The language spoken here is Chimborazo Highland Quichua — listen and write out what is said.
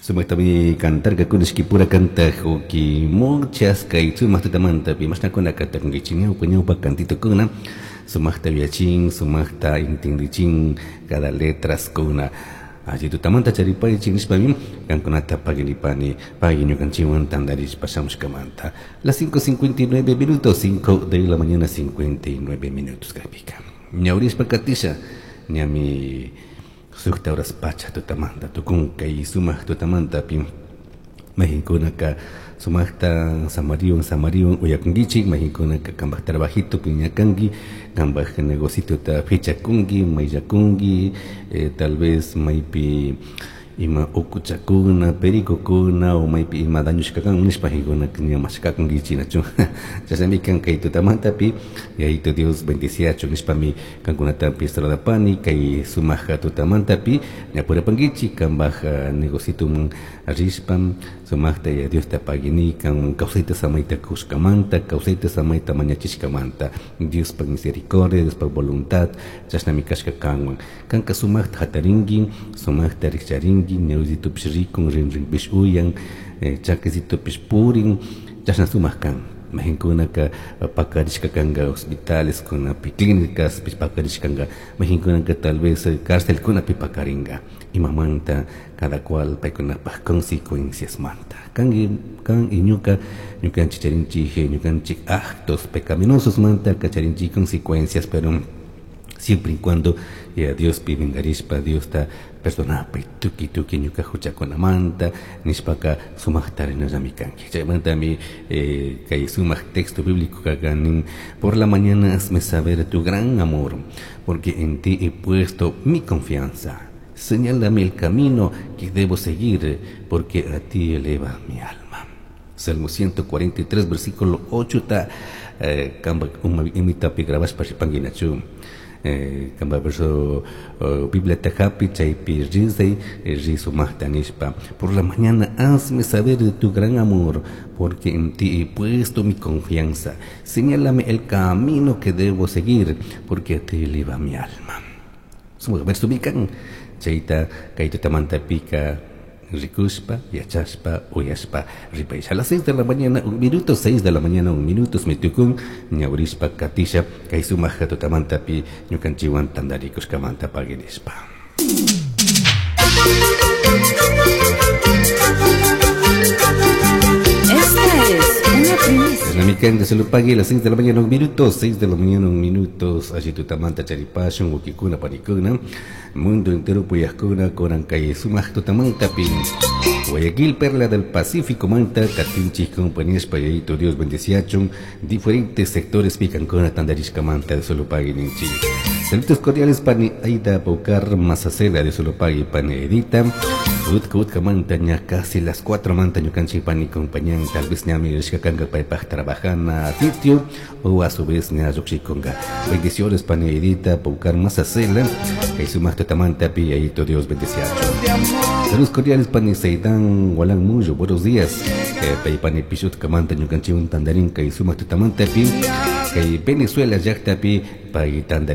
Sumaktami cantarkakuna ishkipura kantaj uki muchas kay sumak tutamantapi mashnakuna kantakunkichik ñawpa ñawpa kantitukuna sumakta yuyachin sumakta intindichin cada letraskuna alli tutamanta charipaychik nishpami kankunata paginipani pagui ñukanchikwan tantarishpa shamushkamanta. Las 5:59 minutos, 5 de la mañana 59 minutos kaypika. Ñawrishpa katisha ñami sukta horas pacha tutamanta tukun kay sumak tutamantapi mayqinkunaka sumakta samariwan samariwan uyakunkichik mayqinkunaka kanpak trabajitopi ñakanki kanpak negocitota fichakunki mayllakunki tal vez maypi ima ukuchakuna pericokuna o maypi ima dañushka kan nishpa ña mashkakunkichik nachu chashnami kan kay tutamantapi Yayito Dios bendiciachun nishpami kankunatapi saludapani kay sumak tutamantapi ñapurapankichik kanpak negocitoman rishpa sumakta Yaya Diosta pagini kan kawsayta samayta kushkamanta kawsayta samayta mañachishkamanta Diospak misericordia Diospak voluntad chashnami kashka kanwan kanka sumakta hatarinki sumakta rikcharinki ñawizitupish rikun rinrinpish uyan chakisitupish purin chashna sumak kan mayqinkunaka pakarishka kanka hospitaleskunapi clínicaspish pakarishkanka mayqinkunaka tal vez carcelkunapi pakarinka imamanta cada cual paykunapak consecuenciasmanta kanki kan y ñuka ñukanchik charinchik ñukanchik actos pecaminosos manta charinchik consecuencias, pero siempre y cuando ya Diospi minkarishpa Diosta perdonapay tukuy tukuy ñuka huchakunamanta nishpaka sumakta rinallami kanki. Chaymantami kay sumak texto bíblico nin: por la mañana hazme saber tu gran amor, porque en ti he puesto mi confianza. Señálame el camino que debo seguir, porque a ti eleva mi alma. Salmo 143, versículo 8 ta kamba imitapi grabashpa ripanguinachu. Kamba verso Biblia hapi chaypi rizay rizumaqta nishpa: por la mañana hazme saber de tu gran amor, porque en ti he puesto mi confianza. Señálame el camino que debo seguir, porque a ti eleva mi alma. Sumaq verso mikan chayta kay tutamantapika rikushpa yachashpa uyashpa ripaysh. A las 6 de la mañana un minuto, 6 de la mañana un minuto mitukun ñawrishpa katisha kay sumaq tutamantapi ñukanchikwan tantarikushkamanta paginishpa. Esta es una primicia. Chashnami de solo pague las 6 de la mañana un minuto, 6 de la mañana un minuto, alli tutamanta charipashun wawkikuna panikuna, mundo entero puyajkuna kunan kay sumaq tutamantapi Guayaquil, Perla del Pacífico manta katinchik compañías payayito Dios bendeciachun diferentes sectores picancuna tandarishkamanta de solo pague ninchik. Saludos cordiales pani Aida Paucar Mazacela de solo pague pani Edita. Utka utka manta ña casi las 4 manta ñukanchik pani compañán tal vez ñami rishka kanga paypaj trabajana sitio o a su vez ña llukshikunga. Bendiciones pani Edita Paucar Mazacela kay sumaq tutamanta pi yayito Dios bendeciachun. Saludos cordiales pani Seidan Walan Muyo, buenos días. Pay pani Pishutka manta ñukanchik tandarin kay sumaq tutamanta pi kay Venezuela llaqtapi pay tandari